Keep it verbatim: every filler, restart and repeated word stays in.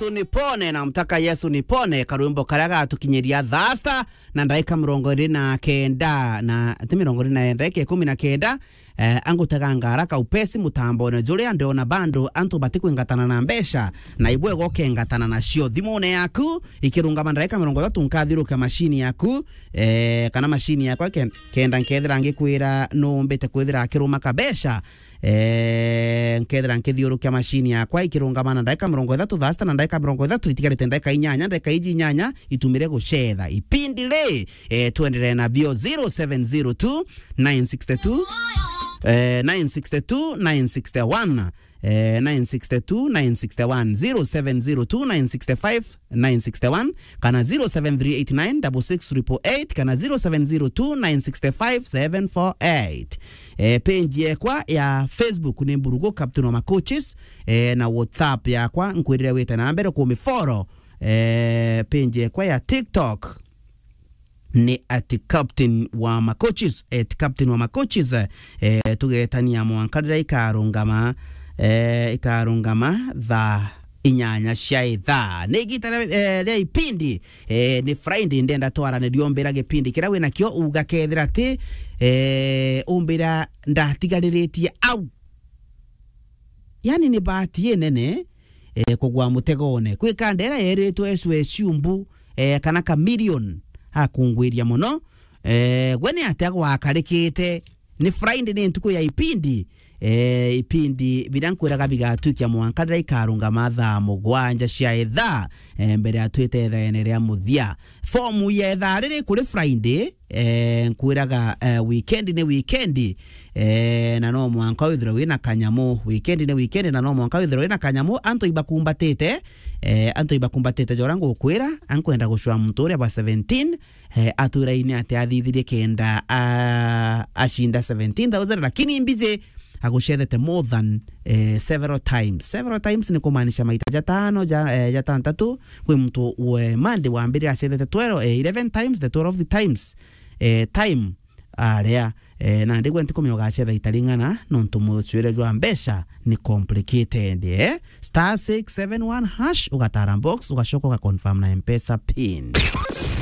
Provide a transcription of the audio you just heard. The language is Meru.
Yesu nipone, namtaka Yesu nipone, karwimbo karia gatukinyiria thaa sita na ndaika mirongo iri na kenda, na ti mirongo iri na, ndaika ikumi na kenda. Eh, angutega ngara kaupesi mutambone juria ndiona bando antu batikwingatana na mbeca, na ibwega ukengatana nacio thimune yaku ikirungama ndaika mirongo ithatu. Nkathiurukia mashini yaku, eh, kana mashini yakwa ken-, kenda nkethira ngikwira numbite kwithira akiruma kabeca. Eh, nkethira nkithiurukia mashini yakwa ikirungama na ndaika mirongo ithatu, thaa sita na ndaika mirongo ithatu, itigarite ndaika inyanya, ndaika iji inyanya itumire gucetha. Ipindi ri, eh, twenderee nabio. Zero seven zero two, nine six two, eh, nine six two, nine six one, eh, nine six two, nine six one, zero seven zero two, nine six five, nine six one, kana zero seven three eight nine double six triple eight, kana zero seven zero two, nine six five, seven four eight. Eh, page yekwa ya Facebook ni Mburugu Captain wa Macoaches, eh, na WhatsApp yakwa nkwirire wite na mbere kumifollow. Eh, page yekwa ya TikTok ni at Captain wa Macoaches, at Captain wa Macoaches. Eh, tugetania mwanka riria ikarungama, eh, ikarungama thaa inyanya cia ithaa. Ni igita ria, eh, ria ipindi, eh, ni Friday, ndenda twaranirie umbira gipindi kiria winakio, uga kethira ati, eh, umbira ndatigariritie au. Yani ni bahati inene, eh, kugwa mutegone. Kwi kandera yeritwe ecwe ciumbu, eh, kana Chameleone akungwiria muno. Eh, gwe ni atia gwakarikite? Ni Friday, ni ntuku ya ipindi. Eh, ipindi biria nkwiraga bigatwikia mwanka riria ikarungama thaa mugwanja cia ithaa, eh, mbere ya twite ithaene ria muthia. Fomu ya ithaa riri kuri Friday, eh, nkwiraga, eh, weekend ni weekend, eh, na no mwanka withirwe wina kanyamu. Weekend ni weekend, na no mwanka withirwe wina kanyamu. Antu ibakumbatite, eh, antu ibakumbatite jora ngukwira, ankwenda gucwa muntu uria bwa seventeen, eh, atwiraine ati athithirie kenda a-, acinda seventeen thousand, lakini mbiji agucethete more than, eh, several times. Several times ni kumaanisha maita jatano, ja, eh, jatantatu. Kwi muntu we Monday wambirire acethete twelve, eh, eleven times, the twelve times, eh, time aria, eh, nandi gwe ntikumenya ugacetha ita ring'ana, nontu mucwire jwa mbeca ni complicated, eh? Star six seven one hash, ugatara box, ugacoka ugaconfirm na M-Pesa pin.